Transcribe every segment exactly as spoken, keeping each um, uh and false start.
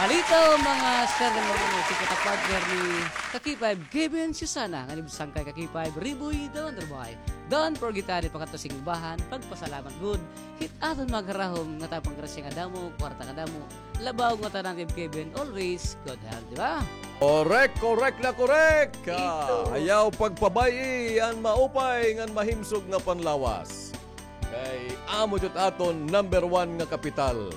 Halito, mga sir, mga ano, si kata partner ni Kaki Five, Kevin Susana, ngan ibsangkay Kaki Five, Riboy, Don Rubahay. Don't forget, ani, pakadto sing ubahan, pagpasalamat gud hit aton mga karahom nga tapang grasya nga damo, kwarta nga damo, labaw nga tanan, Kevin, always good health, di ba? Correct, correct na correct. Ah, ayaw pagpabay-i an maupay ngan mahimsog nga panlawas. Kay amo jud aton number one nga kapital.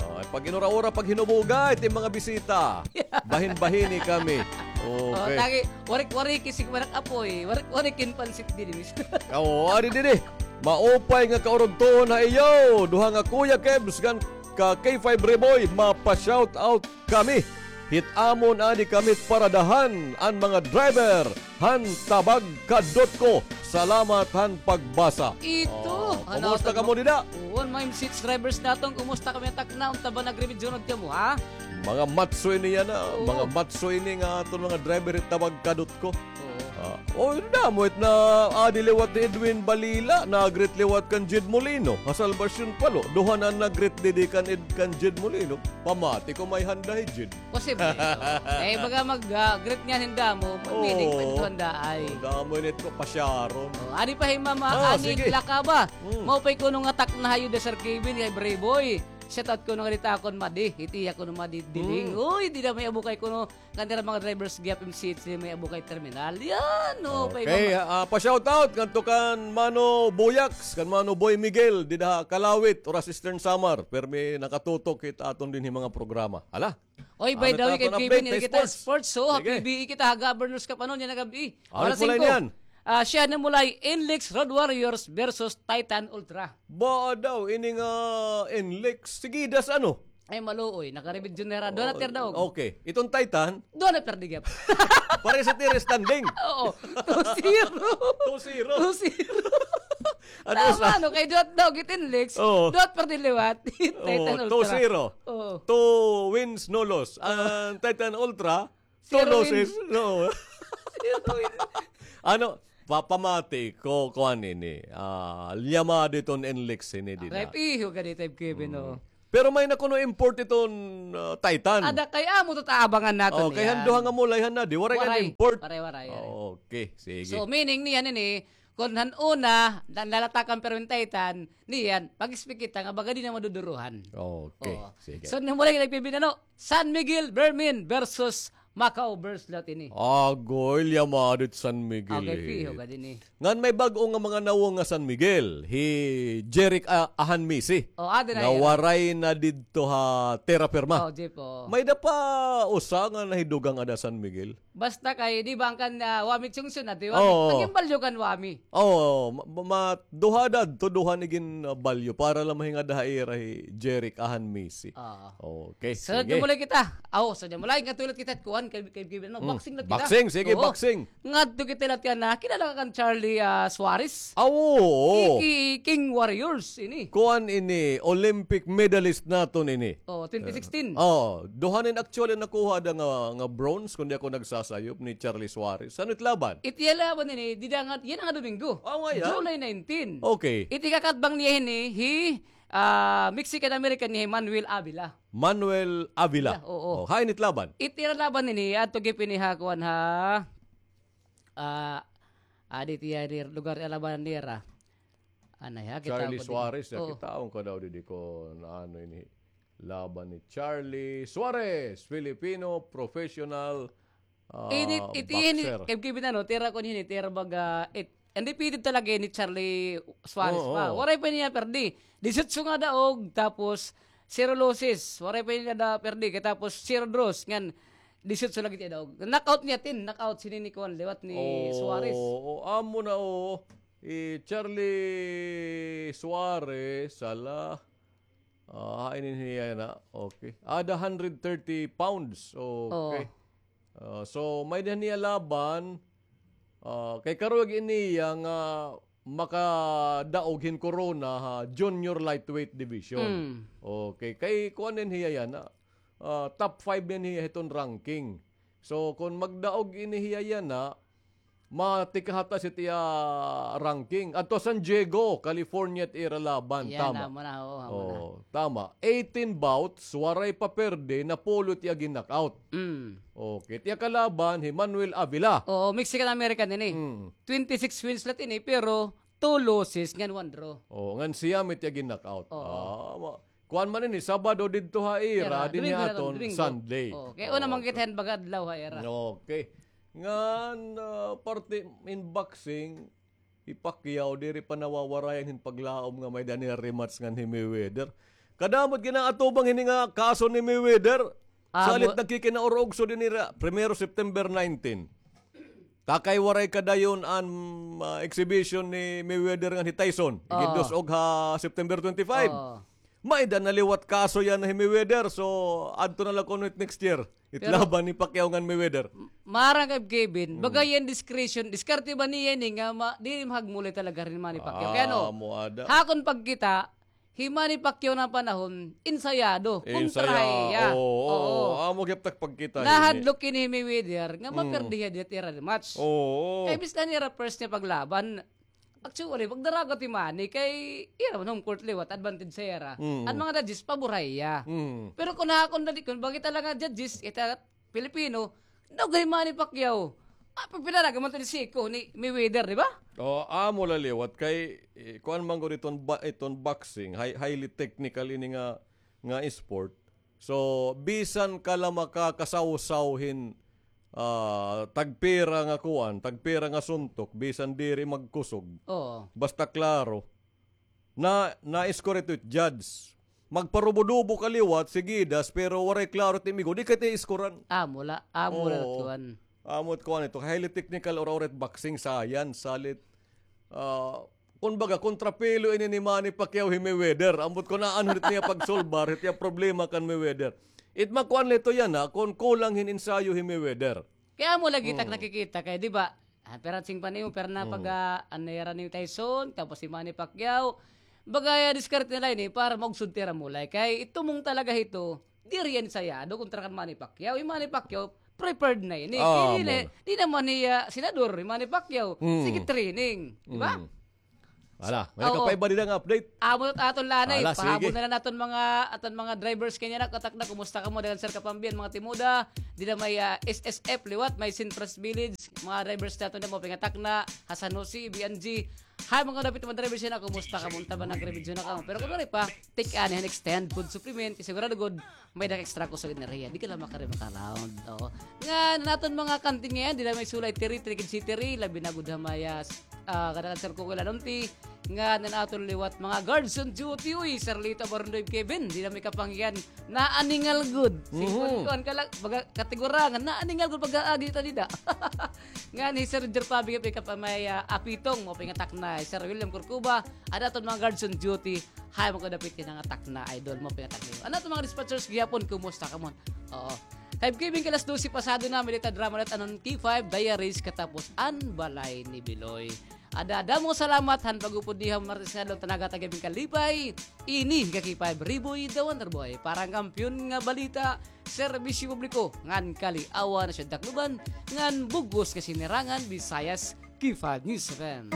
Oh, pag inura-ura, pag hinubuga, iti mga bisita. Bahin-bahini kami. Oh, okay. Tagi, warik-wariki sig manok apoy, warik-wariki hin pansit didi, mister. Oo, adi didi. Maupay nga kaurugtoon ha iyo, duha nga Kuya Kebs ngan ka K five Riboy, mapa-shout out kami. Hit amon ani kami paradahan an mga driver han Tabag Kadutko. Salamat han pagbasa. Ito, oh, kumusta kamo dida? Oo, mga M C H drivers naton, kumusta kamo ha Tacna? Unta ba nagrimidyo na kamo, ha? Mga matso ini yana, mga matso ini nga aton mga driver hit Tabag Kadutko. Oo. Ah, oh, damo it naadi liwat ni Edwin Balila, nag-greet liwat kan Jed Molino ha Salvacion Palo. Duha na nag-greet didi kan Ed-, kan Jed Molino. Pamati ko may handa hi Jed. Posible. Eh, baga mag, ah, greet niyan hin damo, mag-meaning pa ito handa ay. Oh, damo ini ito, pasyaron. Oh, adi pa hi Mama Annie Lacaba. Maupay kuno nga Tacna ha iyo, Sir Kevin, kay Brayboy. Shout out kuno nga dita akon madi, hit iya kuno madi diling. Uy, dida may-abukay kuno kan ira mga drivers gihap M C H, may-abukay terminal. Yan, oh, okay, ah, pa-shout out ngadto kan Mano Boyax, kan Mano Boy Miguel, dida ha Kalawit, Oras Eastern Samar. Permi nakatutok hit aton dinhi mga programa. Hala. Oy, by the way, kay P B, kita sports, so, ha P B E kita ha Governors Cup, ano, niyan na gab-i. Alas singko. Ah, siya namulay, Inlix Road Warriors versus Titan Ultra. Ba daw, ini nga Inlix. Sige, das ano? Ay, maluoy. Naka-review na ra. Duha na tier daog. Okay. Itong Titan? Duha na perdi gihap. Pare sa tier standing. Oo. Two zero. Two zero. Two zero. Ano sa? Tama, no? Kay duha daog it Inlix. Oo. Duha perdi liwat. Titan Ultra. Two zero. Oo. Two wins, no loss. Ang Titan Ultra, two losses. No. Ano, pa-, pamati ko, kuan ini. Ah, liyamado iton Inlix ini dida. Kay piho gani, Kevin, no? Pero may na kuno import iton, ah, Titan. Ada kay amo to taabangan naton. Oh, kay han duha nga mulay han nadi, waray kan import. Waray, waray, waray. Okay, sige. So, meaning niyan ini, kon han una, na-, nalatakan pero in Titan, niyan, mag-expect kita nga baga di na maduduruhan. Okay, sige. So, namulay nagpibinano, San Miguel Vermin versus Macau versus Latini. Agoy, liyamado it San Miguel. Okay, piho ka dinhi. Ngan may bag-o nga mga nawong nga San Miguel, hi Jeric A-, Ahanmisi. Oh, adi na nga waray na didto ha terra firma. Oh, Jeff, oh. May da pa usa nga nahidugang ada San Miguel. Basta kay, di ba, ang kan, ah, Wami Chungsun, adi, Wami? Oo. Naging balyo kan Wami. Oo, ma-, ma-, duha da, to duha ni gin, ah, balyo para lang mahingad ha ira hi Jeric Ahanmisi. Oo. Okay, sige. So, dumulay kita. Aw, so, dumulay nga tulat kita, kuan, kay, kay, kay, ano, boxing na kita. Boxing, sige, boxing. Ngadto kita lahat yan, ah, kilala ka kan Charlie, ah, Suarez? Ah, oo. Ki-, ki-, King Warriors, ini. Kuan ini, Olympic medalist naton ini. Oh, twenty sixteen. Oh, duha nin actually nakuha da nga, nga bronze, kon di ako nagsasayop, ni Charlie Suarez. Ano it laban? It iya laban ini, dida nga, yana nga Domingo. Oh, nga yan? July nineteen. Okay. It ikakatbang niya ini, hi, ah, Mexican-American ni Manuel Avila. Manuel Avila. Avila, oo. Oh, hain it laban? It ira laban ini, adto gihap ini ha, kuan ha, ah, adi it iya lugar, iya laban nira. Anay, ha, kita Charlie Suarez, ya, oo. Kitaon ko daw didi kon ano ini laban ni Charlie Suarez, Filipino professional, ah, boxer. Ini, it, ini, kay gibinan, no, tira ko ini, tira baga, it, undefeated talaga ni Charlie Suarez pa. Oo, oo. Waray pa niya perdi. Disiotso nga daog, tapos zero losses. Waray pa niya da perdi, kay tapos zero draws. Ngan, disiotso lagi it iya daog. Knockout niya, tin, knockout, sini ni kuan, liwat ni Suarez. Oo, amo na, oo. Eh, Charlie Suarez, sala. Ah, hain ini hiya na. Okay. Ada hundred thirty pounds. Okay. Oh. Ah, so, may-ada niya laban. Ah, kay karuyag ini hiya nga makadaog hin corona ha junior lightweight division. Mm. Okay. Kay kuan ini hiya yana. Ah, top five ini hiya hiton ranking. So, kon magdaog ini hiya yana, Matikahataas it iya ranking. Adto San Diego, California it ira laban. Yan, tama. Amo na, oo, amo na. Oo, tama. Eighteen bouts, waray pa perde, napulo it iya gin-knockout. Mm. Okay, it iya kalaban, hi Manuel Avila. Oo, Mexican-American ini. Mm. Twenty-six wins la ini, pero two losses, ngan one draw. Oo, ngan siya it iya gin-knockout. Oo. Ah, ma-, kuan man ini, Sabado didto ha ira, dinhi Domingo na aton, Domingo. Sunday. Oo, kay una man kita hin baga adlaw ha ira. Okay. Ngan, ah, parte in boxing, hi Pacquiao, diri pa nawawarayan hin paglaom nga may-ada niya rematch ngan hi Mayweather. Kadamo it gin-aatubang hini nga kaso ni Mayweather. Ah, salit nagkikinaurugso dinhi ha primero September nineteen. Takay waray kadayon an, ah, exhibition ni Mayweather ngan hi Tyson. Oo. Igidus-og ha September twenty-five. Oo. May-ada na liwat kaso yana hi Mayweather. So, adto na la kuno it next year. It laban ni Pacquiao ngan Mayweather. M-, maaram ka, Kevin, baga yana discretion, diskarte ba niya ini nga ma-, diri mahagmulay talaga hini Manny Pacquiao. Kay ano, ha akon pagkita, hi Manny Pacquiao nga panahon, ensayado, kontra hiya. Oo, oo. Amo gihap it ak pagkita hini. Nahadlok ini hi Mayweather nga maperde hiya dida ha ira rematch. Oo. Kay bisan ira first niya paglaban, actually, pagdaragot hi Manny kay ira man home court liwat, advantage sa ira. Mm. An mga judges, pabor ha iya. Mm. Pero kon ha akon dali, kon baga kita la nga judges, kita Pilipino, daw kay Manny Pacquiao. Ah, pagpinaraga man to ni Siko, ni Mayweather, di ba? Oh, amo la liwat kay, eh, kuan man gud iton ba-, iton boxing, hi-, highly technical ini nga, nga sport. So, bisan ka la makakasawsaw hin, ah, tagpira nga kuan, tagpira nga suntok, bisan diri magkusog. Oo. Basta klaro, na, na-score ito it judge. Magparubo-dubo ka liwat, sigidas, pero waray klaro it imigo, di ka it i-scorean. Amo la, amo la kuan. Amo it kuan ito, highly technical or, or it boxing science, salit, ah, kumbaga, kontrapelo ini ni Manny Pacquiao hi Mayweather. Ambot kon aanhon it niya pagsolbar, it iya problema kan Mayweather. It makuan la ito yana, kon kulang hin ensayo hi Mayweather. Kay amo lagi it ak nakikita kay, di ba, ah, pira sing pa nimo, pira na pag, ah, an nira ni Tyson, tapos hi Manny Pacquiao. Baga, ah, diskarte nira ini para maugsod it ira mulay. Kay itumong talaga hito, diri hiya ensayado kontra kan Manny Pacquiao. Hi Manny Pacquiao, prepared na ini. Ah, kay di na, di na man hiya senador, hi Manny Pacquiao. Sige, training. Di ba? Ala, may nakapaiba dida nga update. Amo it aton la anay. Ala, sige. Pahabol na la aton mga, aton mga drivers kay niyan, katakna, kumusta kamo? Daghang sir kapambian, mga timoda. Dida may, ah, S S F liwat, may Centras Village. Mga drivers naton dida, maupay nga takna, ha San Jose, B N G. Hay, mga dapit mga drivers yana, kumusta kamo? Unta ba, nagre-video na kamo? Pero kon waray pa, take anay hin extend food supplement, sigurado gud may-ada ka extra kusog enerhiya. Di ka la makari maka-round. Oo. Ngan an aton mga kantin ngay-an, dida may Sulay Tiri, Trikid City, labi na gud ha may, ah, ah, kadakan Sir Kukoy Lanonti, ngan an aton liwat mga guards on duty, uy, Sir Lito Barondoy, Kevin, dida may Kapangyan, naaningal gud. Singkon kuan ka la, baga, katigurangan, naaningal gud pag-aagi ta dida. Ngan hi Sir Roger Pabing, may kapa-, may, ah, apitong, maupay nga takna, Sir William Corcuba, an aton mga guards on duty, hay, mga kadapit yana nga takna, idol, maupay nga takna. An aton mga dispatchers gihapon, kumusta kamo? Oo. Five K bing kalas dose pasado na, may dida drama ulit, an K five Diaries, katapos an Balay ni Biloy. Ada, damo nga salamat han pag-upod niyo ha Martes nga adlaw, tanaga ta gihap hin kalipay. Ini hi K five Riboy, the Wonder Boy. Para han Kampiyon nga Balita, Serbisyo Publiko, ngan Kaliawan ha Siyudad Tacloban, ngan bug-os nga sinirangan, Visayas, K five News F M.